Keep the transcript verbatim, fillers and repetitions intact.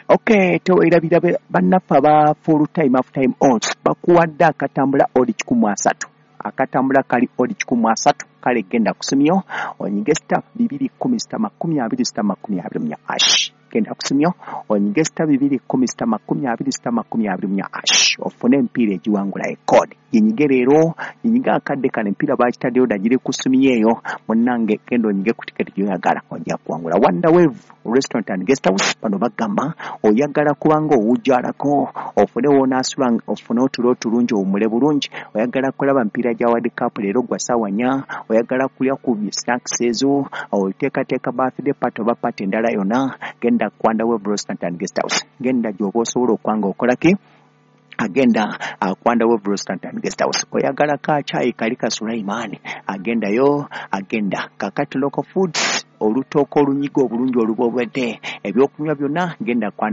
Okay, tewerabira bannaffe aba full time half time odds bakuwadde akatambula odi kikumu asatu, akatambula kali odi kikumu asatu. Kale genda kusimyo onyige star bibiri kumi star makumi abiri star makumi abiri munya hash. Genda kusimyo onyige star bibiri kumi star makumi abiri star makumi abiri munya hash, ofune empiira egiwangula ekodi. Ginyige leero, ginyige akadde kano, empiira bakitaddeyo dda, giri ku ssimu eyo. Munnange, genda onyige ku tiketi gy'oyagala, ojja kuwangula. Wonder Wave Restaurant and Guest House, bano bagamba oyagala kubanga owujjalako, ofune woonaasula, ofune otulo otulungi, owummule bulungi. Oyagala kulaba mpiira gya World Cup leero gwa ssaawa nnya, oyagala kulya ku snacks ezo, oteekateeka birthday party oba party endala yonna, genda ku Wonder Wave Restaurant and Guest House. Genda gy'oba osobola okwanga okolaki, agenda ku Wonder Wave Restaurant and Guest House. Oyagala ka caayi kali ka Sulaiman, agendayo, agenda kakati. Local Foods, olutooka olunyiga obulungi olubobedde, ebyokunywa byonna, genda ku